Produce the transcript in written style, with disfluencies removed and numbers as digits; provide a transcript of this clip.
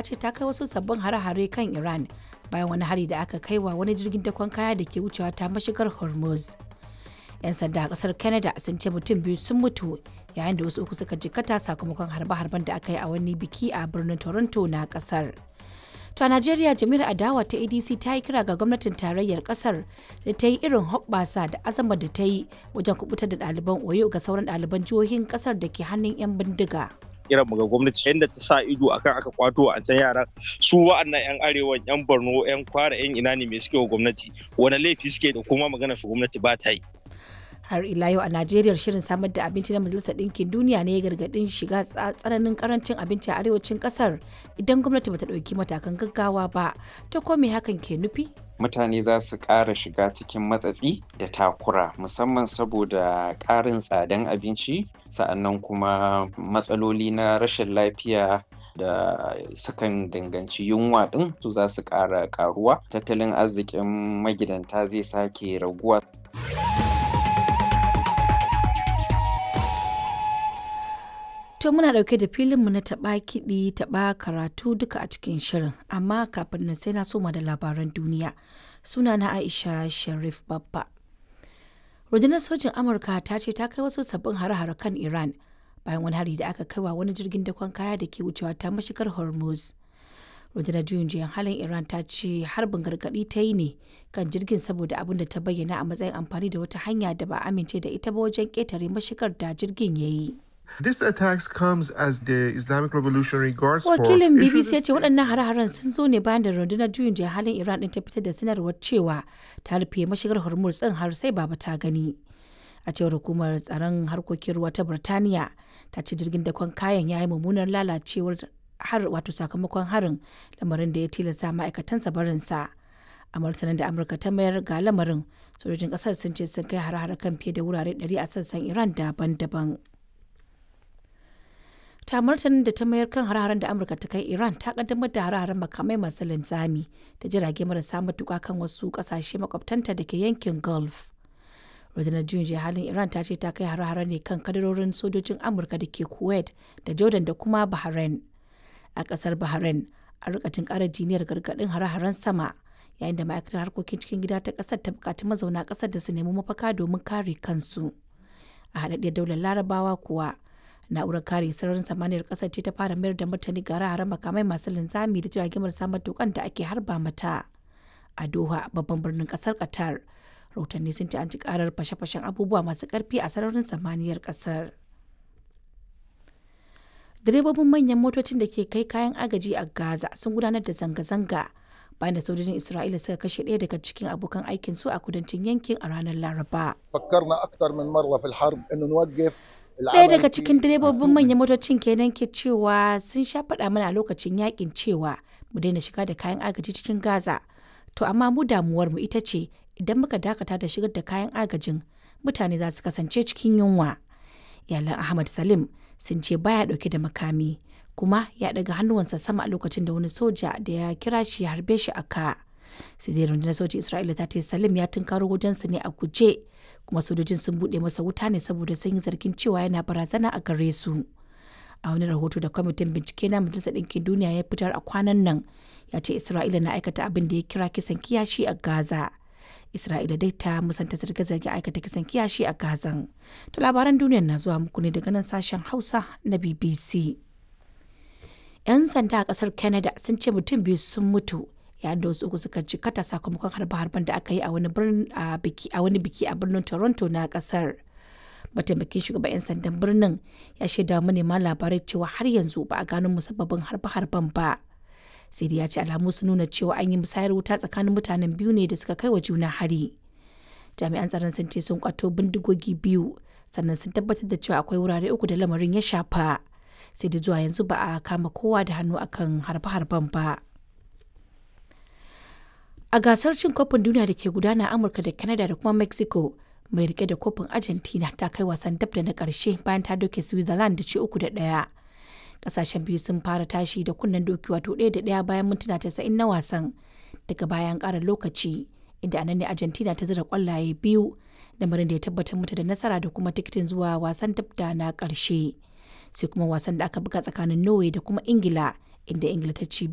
ta ce ta kai wasu sabbin hare-hare kan Iran bayan wani hari da aka kai wa wani jirgin dakon kaya da ke wucewa ta mashigar Hormuz. 'Yan sanda a kasar Canada sun ce mutum biyu sun mutu yayin da wasu uku suka jikkata sakamakon harbe-harben da aka yi a wani biki a birnin Toronto na kasar. To a Najeriya, jami'ar adawa ta ADC ta yi kira ga gwamnatin tarayyar kasar da ta yi irin hoɓɓasa da azamar da ta yi wajen kubutar da ɗaliban Oyo ga sauran ɗaliban jihohin kasar da ke hannun 'yan bindiga. Kiran mu ga gwamnati, yadda ta sa ido akan aka kwato a can yaran su, wa'annan yan arewan, yan Borno, yan Kwara, yan ina ne, me suke wa gwamnati? Wani laifi suke da kuma magana su gwamnati ba ta yi? Har ila yau a Najeriya, shirin samar da abinci na Majalisar Ɗinkin Duniya ne ya gargaɗin shiga tsananin karancin abinci a arewacin ƙasar idan gwamnati bata ɗauki matakan gaggawa ba. Ta ko me hakan ke nufi? Mutane za su ƙara shiga cikin matsatsi da takura, musamman saboda ƙarin tsadan abinci, sa'annan kuma matsaloli na rashin lafiya da sukan danganci yunwa ɗin su za su ƙara ƙaruwa. Tattalin arzikin magidanta zai sake raguwa. To muna ɗauke da filinmu na taɓa kiɗi taɓa karatu duka a cikin shirin, amma kafin nan sai na soma da labaran duniya. Suna na Aisha Sharif Babba. Rundunar sojin Amurka ta ce ta kai wasu sabbin hare-hare kan Iran bayan wani hari da aka kai wa wani jirgin dakon kaya da ke wucewa ta mashigar Hormuz. Rundunar juyin juyan halin Iran ta ce harbin gargaɗi ta yi ne kan jirgin saboda abin da ta bayyana a matsayin amfani da wata hanya da ba a amince da ita ba wajen ƙetare mashigar da jirgin ya yi. This attacks comes as the Islamic Revolutionary Guards Corps Wakilin issued BBC ya a ce waɗannan hare-haren sun zo ne bayan da rundunar juyin juya halin Iran ɗin ta fitar da sanarwar cewa ta rufe mashigar Hormuz ɗin har sai baba ta gani. A cewar hukumar tsaron harkokin ruwa ta Birtaniya, ta ce jirgin dakon kayan ya yi mummunar lalacewar har wato sakamakon harin, lamarin da ya tilasta ma'aikatansa barinsa. A martanin da Amurka ta mayar ga lamarin, sojojin ƙasar sun ce sun kai hare-hare kan fiye da wurare 100 a sassan Iran daban-daban. Ta martanin da ta mayar kan hare-haren da Amurka ta kai, Iran ta kaddamar da hare-haren makamai masu linzami da jirage marasa matuka kan wasu kasashe makwabtanta da ke yankin Gulf. Rundunar juyin juya halin Iran ta ce ta kai hare-hare ne kan kadarorin sojojin Amurka da ke Kuwait da Jordan da kuma Bahrain. A kasar Bahrain, a rika jin karar jiniyar gargadin hare-haren sama, yayin da ma'aikatar harkokin cikin gida ta kasar ta bukaci mazauna kasar da su nemi mafaka domin kare kansu. A haɗaɗɗiyar Daular Larabawa kuwa, na'urar kare sararin samaniyar kasar ce ta fara mayar da martani ga hare makamai masu linzami da jiragen marasa matukan da ake harba mata. A Doha, babban birnin kasar Qatar, rahotanni sun ce an ci karar fashe-fashen abubuwa masu karfi a sararin samaniyar kasar. Direbobin manyan motocin da ke kai kayan agaji a Gaza sun gudanar da zanga-zanga bayan da sojojin Isra'ila suka kashe ɗaya daga cikin abokan aikin su a kudancin yankin a ranar Laraba. فكرنا اكثر من مره في الحرب انه نوقف. Ɗaya daga cikin direbobin manyan motocin kenan ke cewa sun sha faɗa mana a lokacin yakin cewa mu daina shiga da kayan agaji cikin Gaza. To amma mu damuwar mu ita ce idan muka dakata da shigar da kayan agajin, mutane za su kasance cikin yunwa. Iyalan Ahmad Salim sun ce baya ɗauke da makami, kuma ya ɗaga hannuwansa sama a lokacin da wani soja da ya kira shi ya harbe shi a ka. Sai dai rundunar sojin Isra'ila ta ce Salim ya tunkaro wajensu ne a guje, kuma sojojin sun buɗe masa wuta ne saboda sun yi zargin cewa yana barazana a gare su. A wani rahoto da kwamitin bincike na Majalisar Ɗinkin Duniya ya fitar a kwanan nan, ya ce Isra'ila na aikata abin da ya kira kisan kiyashi a Gaza. Isra'ila dai ta musanta zarge-zarge aikata kisan kiyashi a Gazan. To labaran duniyar na zuwa muku ne daga nan sashen Hausa na BBC. 'Yan sanda a kasar Canada sun ce mutum biyu sun mutu yayin da wasu uku suka jikata sakamakon harbe-harben da aka yi a wani biki a birnin Toronto na kasar. Mataimakin shugaban 'yan sandan birnin ya shaida wa manema labarai cewa har yanzu ba a gano musabbabin harbe-harben ba. Sai dai ya ce alamu sun nuna cewa an yi musayar wuta tsakanin mutanen biyu ne da suka kai wa juna hari. Jami'an tsaron sun ce sun kwato bindigogi biyu, sannan sun tabbatar da cewa akwai wurare uku da lamarin ya shafa. Sai da zuwa yanzu ba a kama kowa da hannu akan harbe-harben ba. A gasar cin kofin duniya da ke gudana a Amurka da Canada da kuma Mexico, mai rike da kofin Argentina ta kai wasan dab da na karshe bayan ta doke Switzerland da ci 3-1. Kasashen biyu sun fara tashi da kunnen doki, wato 1-1, bayan mintuna 90 na wasan. Daga bayan ƙara lokaci, inda anan ne Argentina ta zira kwallaye biyu, lamarin da ya tabbatar mata da nasara da kuma tikitin zuwa wasan dab da na ƙarshe. Sai kuma wasan da aka buga tsakanin Norway da kuma Ingila, inda Ingila ta ci